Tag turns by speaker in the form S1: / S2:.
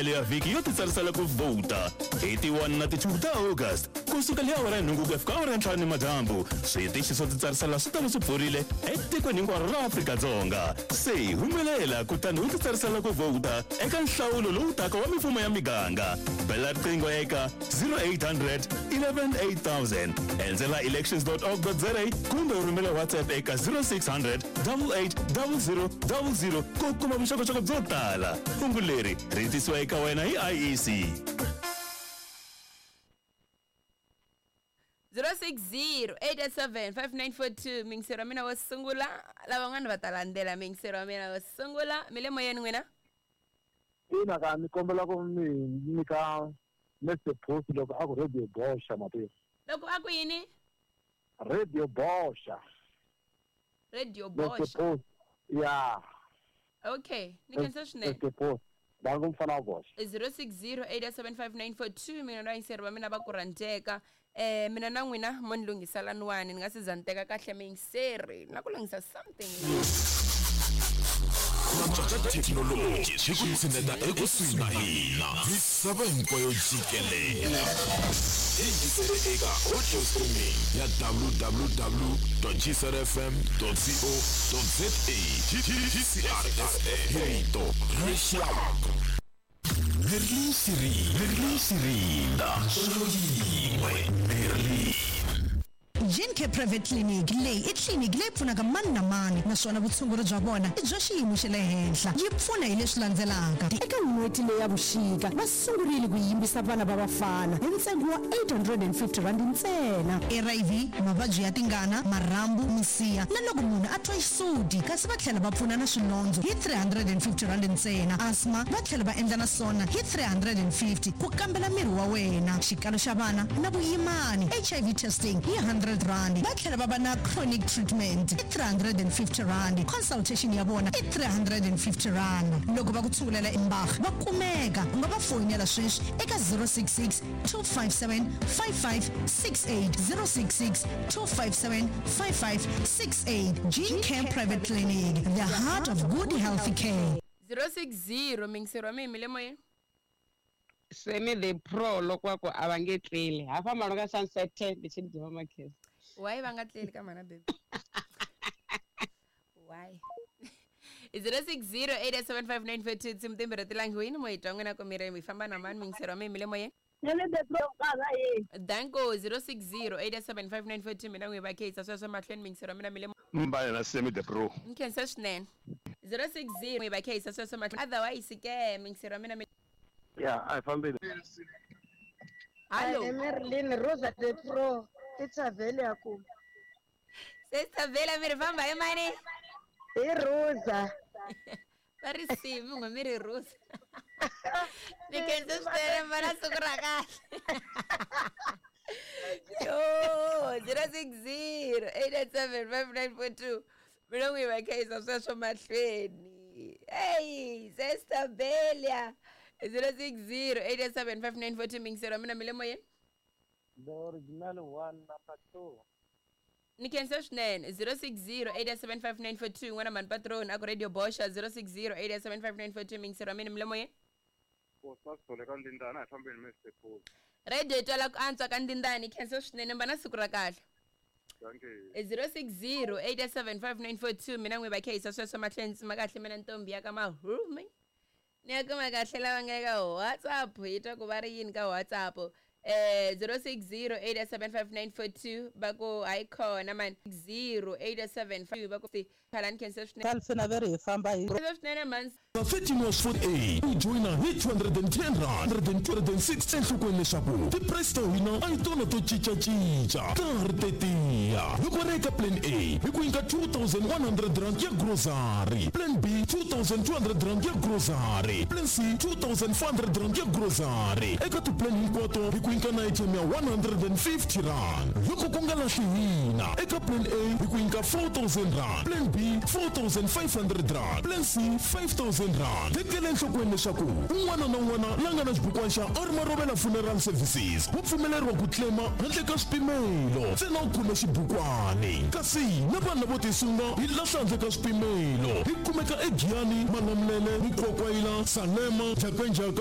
S1: Mahelo ya vhiki yo titsarisela ku vhota hi ti 1 na ti 2 ta August ku suka hi awara ya nhungu ku ya fika awara ya ntlhanu nimadyambu. Switichi swo titsarisela swi ta va swi pfurile etikweni hinkwaro ra Afrika-Dzonga. Se humelela kutani u titsarisela ku vhota eka nhlawulo lowu taka wa mifumo ya miganga. Bela riqingho eka 0800 11 8000, endzela elections.org.za kumbe u rhumela WhatsApp eka 0600 88 00 00 ku kuma vuxokoxoko byo tala. Hungu leri ri tisiwa eka wena hi IEC.
S2: 060 887 5942, mingisero wa mina wo sungula. Lavan'wana va ta landzela. Mingisero wa mina wo sungula, mi le moyeni n'wina.
S3: Ina ka ni kombela ku mi nyika Mr Post loko a ku Radio Boxa matimu.
S2: Loko a ku yini?
S3: Radio Boxa.
S2: Radio
S3: Mr
S2: Boxa.
S3: Post ya.
S2: Okay, ni khensa swinene.
S3: Mr Post bangi mfana wa boxa.
S2: 060 8875942, mina na yingiseri va mina va ku rhandzeka. Mina na n'wina mo ni lunghisela niwani ni nga se za ni teka kahle miyingiseri na ku lunghisa something.
S4: Ku antswa ka thekinoloji swi ku tshineta ekusuhi na hina misava hinkwayo jikelele. Yingisele eka audio streaming ya www gcrfm co za. GCR FM, hi rito ra rixaka. Merlin Siri, Merlin Sirinda, ntsolo yin'we Merlin.
S5: Gene Care Private Clinic leyi i tliliniki leyi pfunaka mani na mani, naswona vutshunguri bya vona i bya xiyimo xa le henhla. Yi pfuna hi leswi landzelaka.
S6: Eka n'hweti leyi ya vuxika va sungurile ku yimbisa vana va vafana hi ntsengo wa R850 ntsena.
S5: HIV, mavabyi ya tingana, marhambu, misiha na loko munhu a twa xisuti, kasi va tlhela va pfuna na swilondzo hi R350 ntsena. Asthma va tlhela va endla na swona hi 350, ku kambela miri wa wena, xikalo xa vana na vuyimani, HIV testing hi R100. Va tlhela va va na chronic treatment i R350, consultation ya vona i R350. Loko va ku tshungulela embag va kumeka, u nga va foyinela sweswi eka 066 257 5568, 066 257 5568. Gene Care Private Clinic, the heart of good healthy care.
S2: 060, mingiseri wa mina, mi le moyeni.
S7: Semi the Pro loko va ku a va nge tleli ha famba loko ka Sunset 10 ndi tshi ḓivha makhesi.
S2: Why va nga tleli ka mana baby? Why? 060 8875942, tinsimu timbirhi ti langiwini mo hi twa n'wina ku mi ri mi famba na mani. Mingiseri wa mina, mi le moyeni.
S8: Semi the Pro ka ye.
S2: Danko. 060 8875942, mina n'wi va kheyisa sweswo mahlweni. Mingiseri wa mina, mi le.
S9: Mbale na Semi the Pro.
S2: Ni khensa swinene. 060 n'wi va kheyisa sweswo mahlweni, otherwise ke mingiseri wa mina mi.
S3: Ya, a hi fambeni.
S2: Hallo.
S8: Merlin Rosa the Pro i Thavele ya ku.
S2: Sesithavela, mi ri famba hi mani?
S8: Hi Rosa.
S2: Va ri simi n'we mi ri Rosa. Ni khensa swinene, va na siku ra kahle. Yo, 060 887 5942, mina n'wi va khayisa sweswo mahlweni. Eyi, sesitabelia. 060 887 5942, mingisero wa mina, mi le moyeni.
S3: The original one number two.
S2: Ni khensa swinene. 060 8875942, n'wana mani patron a ku Radio Boxa. 060 8875942, mingisero wa mina, mi le moyeni.
S10: Sasithole ka Ndindana, a hi fambeni Mr Post.
S2: Radio yi twala ku antswa ka Ndindani. Khensa swinene, mba na siku ra kahle.
S10: Dankie.
S2: 060 8875942, mina n'wi va kheyisa sweswo mahlweni. Tsima kahle mina ntombi ya ka mahumi, ni ya kuma kahle lava nga eka WhatsApp, hi twa ku va ri yini ka WhatsApp. 060 8875942, va ku hayi khona mani. 0 875 va ku phalani. Khensa swinene.
S11: Talfina ve ri hi famba hi.
S2: Khensa swinene mani.
S4: 13 was 48 u joyina hi R210, 126. Enhlokweni leswaku ti-price ta hina a hi tona to cincacinca, ta ha ri tetiya. Loko ri eka plan A hi ku nyika R2100 ya grocery, plan B R2200 ya grocery, plan C R2400 ya grocery. Eka ti-plan hinkwato hi ku nyika na item ya R150. Loko ku nga lahli hina, eka plan A hi ku nyika R4000, plan B R4500, plan C R5000. Tekela enhlokweni leswaku un'wana na un'wana la nga na xibukwana xa Armarovela Funeral Services wu pfumeleriwa ku claima handle ka swipimelo, ntsena u khome xibukwani. Kasi na vanhu lavo tisunga hi lahla handle ka swipimelo. Hi kumeka eGiyani, Malamulele, Mukwakwayila, Salema, Jhakanjhaka.